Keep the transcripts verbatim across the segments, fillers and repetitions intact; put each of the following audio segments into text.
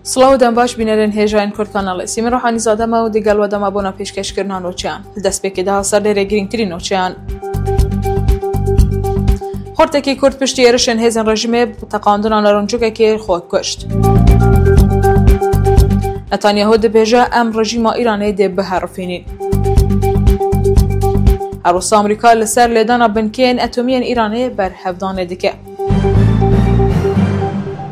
Silav û dem baş bînerên hêjayên Kurd Kanalê. Sîmin Ruhanîzade me û digel we dema bona pêşkêşkirina nûçeyan. Li destpêkê de ser lêrê girîngtirîn nûçeyan. Xortekî Kurd piştî êrişên hêzên rejîmê bi teqandina narincokekê xwe kuşt. Netanyahu dibêje, em rejîma Îranê dê biherifînîn. Her wisa Amerîka li ser lêdana binkeyên etomî yên Îranê berhevdanê dike.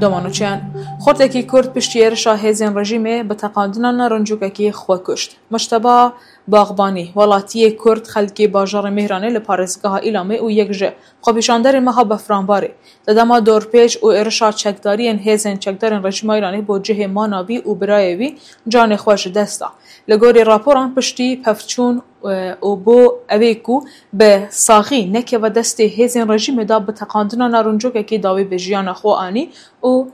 Doma nûçeyan. Xortekî Kurd piştî êrişa hêzên rejîmê bi teqandina narincokekî xwe kuşt. Mujteba Baxbanî, welatiyê Kurd, xelkê bajarê Mêhranê li parêzgeha Îlamê û yek ji xwepêşanderên meha Befranbarê, di dema dorpêç û êrişa çekdariyên hêzên çekdarên rejîma Îranê bo cihê mana wî û birayê wî canê xwe ji dest da. Li gorî raporan piştî pevçûn, e, û bo ewê ku bi saxî nekeve destê hêzên rejîmê de bi teqandina narincokekê dawî bi jiyana xwe anî û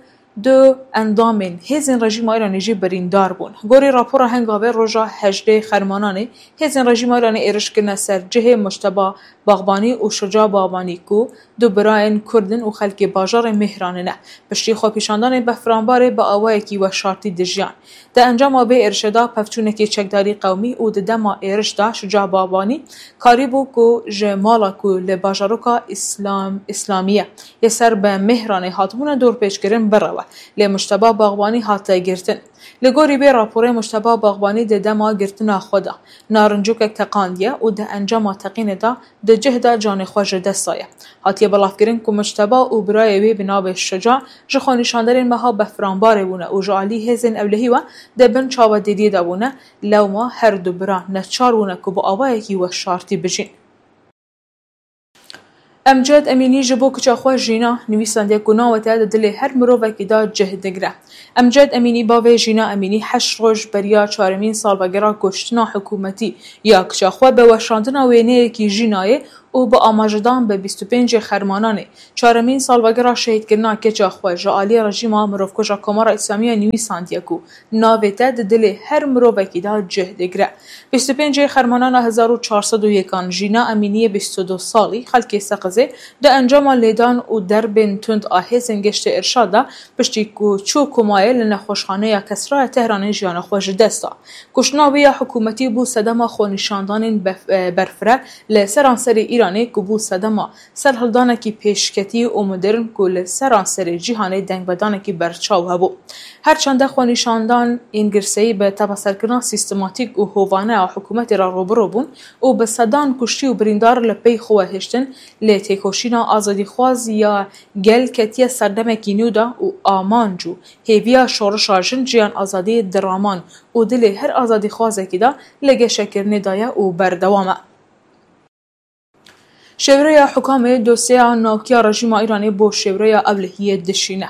du endamên hêzên rejîma Îranê jî birîndar bûn. Gorî rapora Hengavê roja hejdê Xermananê hêzên rejîma Îranê êriş kirine ser cihê Mujteba Baxbanî û Şuca Baxbanî ku du birayên Kurd in û xelkê bajarê Mêhranê ne. Piştî xwepêşandanê Befranbarê bi awayekî weşartî dijiyan. Di encama vê êrişê de pevçûnekê çekdarî qewmî û di dema êriş de Şuca Baxbanî karîbû ku ji mala ku li bajaroka Îslam, Îslamiye yê ser bi Mêhranê hatibûne dorpêçkirin birewe. Lê Mujteba Baxbanî hate girtin. Li gorî vê raporê Mujteba Baxbanî di dema girtina xwe de narincokek teqandiye û di encama teqînê de di cih de canê xwe ji dest daye. Hatiye belavkirin ku Mujteba û birayê wê bi navê Şuca ji xwenîşanderên meha Befranbarê bûne û ji alî hêzên ewlehî ve di bin çavedêriyê de bûne, lewma her du bira neçar bûne ku bi awayekî weşartî bijîn. Emced Emînî ji bo kiça xwe Jîna nivîsandiye ku navê te di dilê her mirovekî de cih digire. Emced Emînî, bavê Jîna Emînî, heşt roj beriya çaremîn salvegera kuştina hikûmetî ya kiça xwe bi weşandina wêneyekî Jînayê û bi amajedan bi bîst û pêncê Xermananê, çaremîn salvegera şehîdkirina keça xwe ji alî rejîma mirovkuja Komara Îslamî ya nivîsandiye ku navê te di dilê her mirovekî de cih digire. Bîst û pêncê Xermanana hezar û çar sed û yekan, Jîna Emîniyê bîst û du salî, xelkê Seqizê, di encama lêdan û derbên tund a hêzên Geştê Irşad de, piştî ku çû komayê, li nexweşxaneya Kesraya Tehranê jiyana xwe ji dest da. Kuştina wê ya hikûmetî bû sedema xwenîşandanên bef-, e, berfireh li seranserê Îranê ku bû sedema serhildanekî pêşketî û modern ku li seranserê cîhanê dengvedanekî berçaw hebû. Her çende xwenîşandan ên girseyî bi tepeserkirina sîstematîk û hovane a hikûmetê re rûbirû bûn û bi sedan kuştî û birîndar li pey xwe hiştin, lê têkoşîna azadîxwaz ya gel ketiye serdemekî nû de û amanc û hêviya şorişa jin, jiyan, azadî di raman û dilê her azadîxwazekî de li geşekirinê de ye û berdewam e. Şêwreya Hukamê dosyeya navkiya rejîma Îranê bo şêwreya ewlehiyê dişîne.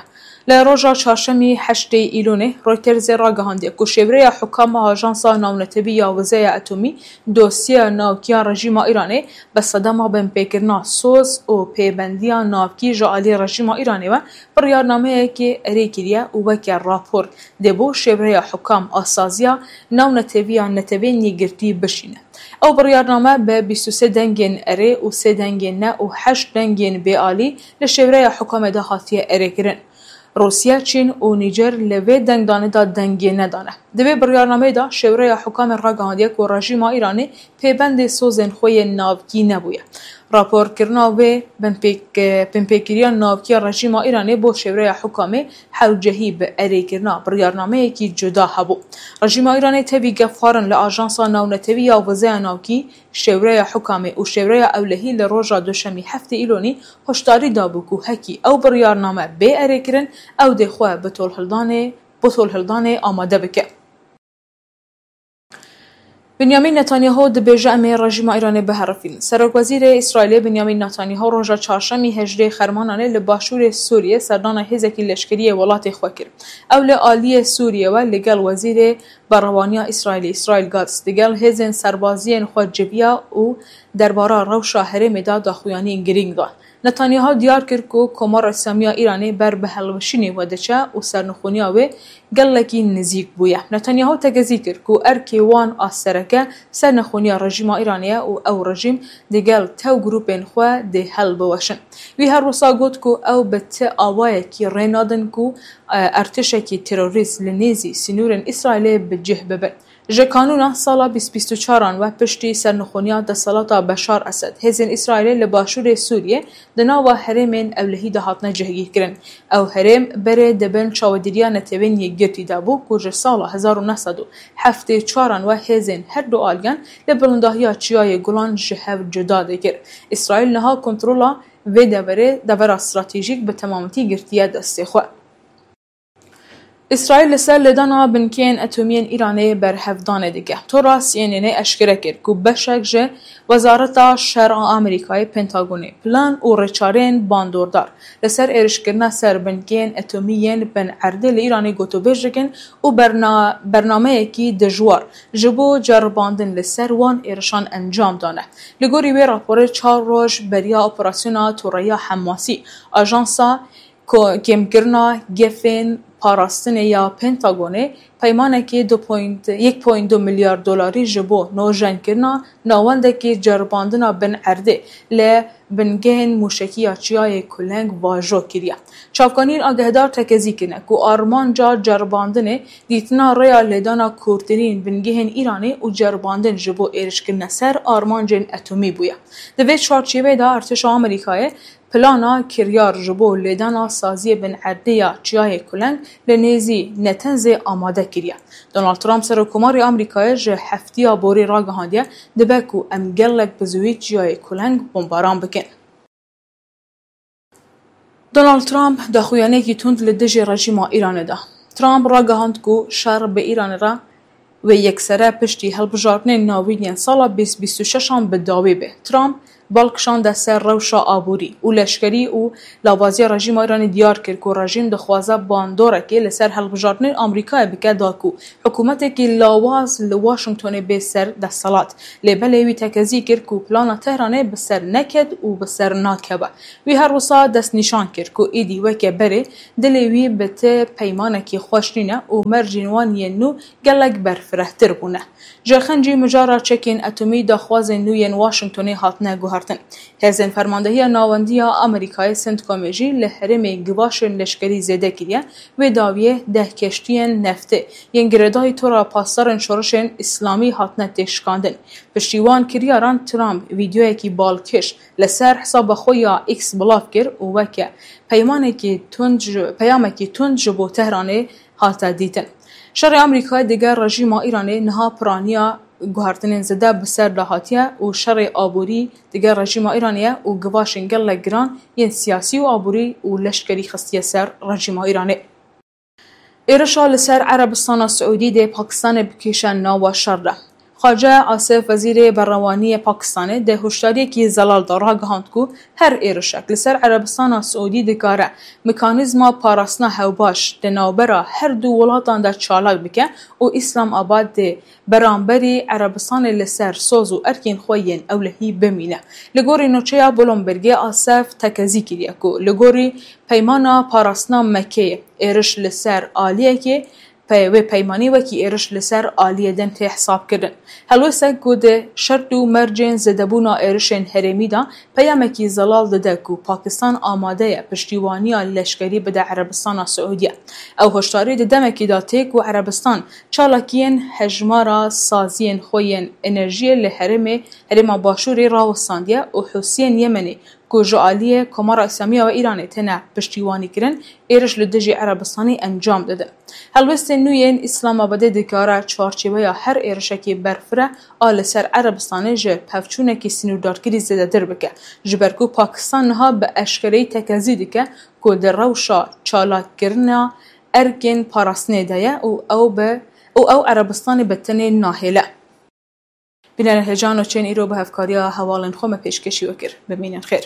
Li roja çarşemî heştê Îlonê, Reutersê ragihandiye ku şêwreya Hukam a Ajansa Navnetewî ya Wizeya Etomî dosyeya navkiya rejîma Îranê bi sedema binpêkirina soz û pêbendiya navkî ji alî rejîma Îranê ve biryarnameyekê erê kiriye û weke rapor dê bo şêwreya Hukam a saziya navneteviya Netewên Yekgirtî bişîne. Ew biryarname bi bîst û sê dengên erê û sê dengên ne û heşt dengên bêalî li şêwreya Hukamê de hatiye erêkirin. Rûsya, Çîn û Nîjer li vê dengdanê de dengê nedane. Di vê biryarnameyê de şêwreya Hukamê ragihandiye ku rejîma Îranê pêbendê sozên xwe yên navkî nebûye. Raporkirina wê binpêk-, binpêkiriya navkiya rejîma Îranê bo şêwreya Hukamê hewcehî bi erêkirina biryarnameyekî cuda hebû. Rejîma Îranê tevî gefxwarin li Ajansa Navnetewî ya Wizeya Navkî, Şêwreya Hukamê û Şêwreya Ewlehî li roja duşemî heftê Îlonî hoşdarî dabû ku hekî ew biryarname bê erêkirin, ew dê xwe bi tolhildanê, bi tolhildanê amade bike. Binyamîn Netanyahu dibêje, em ê rejîma Îranê biherifînin. Serokwezîrê Îsraîlê Binyamîn Netanyahu roja çarşemî hejdê Xermananê li başûrê Sûriyê serdana hêzekî leşkerî yê welatê xwe kir. Ew li aliyê Sûriyê ve li gel Wezîrê Berevaniya Îsraîlê Îsraîl Katz digel hêzên serbaziyên xwe civiya û derbara rewşa herêmê de daxuyaniyên girîng dan. Netanyahu diyar kir ku Komara Îslamî ya Îranê ber bi hilweşînê ve diçe û sernixûniya wê gelekî nizîk bûye. Netanyahu tekezî kir ku erkê wan a sereke sernixûniya rejîma Îranê ye û ew rejîm digel tew grûpên xwe dê hilbiweşin. Wî her wisa got ku ew bi ti awayekî rê nadin ku, e, ertişekî terorîst li nêzî sînorên Îsraîlê bi cih bibin. Ji kanûna sala bîst bîst û çaran ve piştî sernixûniya desthilata Beşar Esed, hêzên Îsraîlê li başûrê Sûriyê di nava herêmên ewlehî de hatine cihgîrkirin. Ew herêm berê di bin çavedîriya Netewên Yekgirtî de bû ku ji sala hezar û neh sed û heftê û çaran ve hêzên her du aliyan li bilindahiya Çiyayê Gulan ji hev cuda dikir. Îsraîl niha kontrola vê deverê, devera stratejîk bi temametî girtiye destê xwe. Îsraîl li ser lêdana binkeyên etomî yên Îranê berhevdanê dike. Tora C N N eşkere kir ku beşek ji Wezareta Şer a Amerîkayê, Pentagonê, plan û rêçareyên bandordar li ser êrişkirina ser binkeyên etomî yên Bin Erdê li Îranê gotûbêj dikin û berna-, bernameyekî dijwar ji bo ceribandin li ser wan êrişan encam dane. Li gorî wê raporê, çar roj beriya operasyona toreya Hemasî, ajansa Ko-, kêmkirina gefên parastinê ya Pentagonê peymanekî du point yek point du milyar dolarî ji bo nojenkirina navendekî ceribandina Bin Erdê li bingehên mûşekî ya Çiyayê Kuleng vajo kiriye. Çavkaniyên agehdar tekezî kirine ku armanca ceribandinê dîtina rêya lêdana kûrtirîn bingehên Îranê û ceribandin ji bo êrişkirine ser armancên etomî bûye. Di vê çarçêveyê de artêşa Amerîkayê plana kiryar ji bo lêdana saziyê Bin Erdê ya Çiyayê Kuleng li nêzî Netenzê amade kiriye. Donald Trump, Serokkomarê Amerîkayê, ji heftiya borî ragihandiye, dibe ku em gelek bi zûyî Çiyayê Kuleng bombaran bikin. Donald Trump daxuyaniyekî tund li dijî rejîma Îranê da. Trump ragihand ku şer bi Îranê re wê yeksere piştî hilbijartinên navîn yên sala bîst bîst û şeş an bi dawî be. Trump bal kişande ser rewşa aborî û leşkerî û lawaziya rejîma Îranê diyar kir ku rejîm dixwaze bandorekê li ser hilbijartinên Amerîkayê bike da ku hikûmetekî lawaz li Washingtonê bê ser desthilat. Lê belê wî tekezî kir ku plana Tehranê bi ser neket û bi ser nakeve. Wî her wisa destnîşan kir ku êdî weke berê dilê wî bi ti peymanekî xweş nîne û mercên wan yên nû gelek berfirehtir bûne. Ji xencî mijara çekên etomî daxwazên nû yên Washingtonê hatine guhertin. Hêzên Fermandehiya Navendî ya Amerîkayê, CENTCOMê jî li herêmê givaşên leşkerî zêde kiriye. Wê dawiyê deh keştiyên neftê yên girêdayî tora pasdarên şoreşên îslamî hatine têşikandin. Piştî wan kiryaran Trump vîdeoyekî balkêş li ser hesaba xwe ya X belav kir û weke peymanekî tund ji, peyamekî tund ji bo Tehranê hate dîtin. Şerê Amerîkayê digel rejîma Îranê niha piraniya guhertinên zêde bi ser de hatiye û şerê aborî digel rejîma Îranê ye û givaşên gelek giran yên siyasî û aborî û leşkerî xistiye ser rejîma Îranê. Êrişa li ser Erebistana Siûdî dê Pakistanê bikêşe nava şer de. Xwace Asif, Wezîrê Berrewaniyê Pakistanê, di hişdariyekî zelal de ragihand ku her êrişek li ser Erebistana Siûdî dikare mekanîzma parastina hewbaş di navbera her du welatan de çalak bike û Îslamabad dê beramberî Erebistanê li ser soz û erkên xwe yên ewlehî bimîne. Li gorî nûçeya Bloombergê, Asif tekezî kiriye ku li gorî peymana parastina Mekkeyê, êriş li ser aliyekê pe-, wê peymanî wekî êriş li ser aliyê din tê hesabkirin. Helwêstek ku di şert û mercên zêdebûna êrişên herêmî de peyamekî zelal dide ku Pakistan amade ye piştîwaniya leşkerî bide Erebistana Siûdiyê. Ew hişdarî di demekî de tê ku Erebistan çalakiyên hejmara saziyên xwe yên enerjiyê li herêmê, herêma Başûrê rawestandiye û Hûsiyên Yemenê ku ji aliyê Komara Îslamî ya Îranê têne piştîwanîkirin, êriş li dijî Erebistanê encam didin. Helwestên nû yên Îslamabadê dikare çarçêweya her êrişekî berfireh a li ser Erebistanê ji pevçûnekî sînordarkirî zêdetir bike, ji ber ku Pakistan niha bi eşkereyî tekezî dike ku di rewşa çalakkirina erkên parastinê de ye û ew bi, û ew Erebistanê bi tenê nahêle. Bînerên hêja, nûçeyên îro bi hevkariya hevalên xwe me pêşkêşî we kir. Bimînin xêr.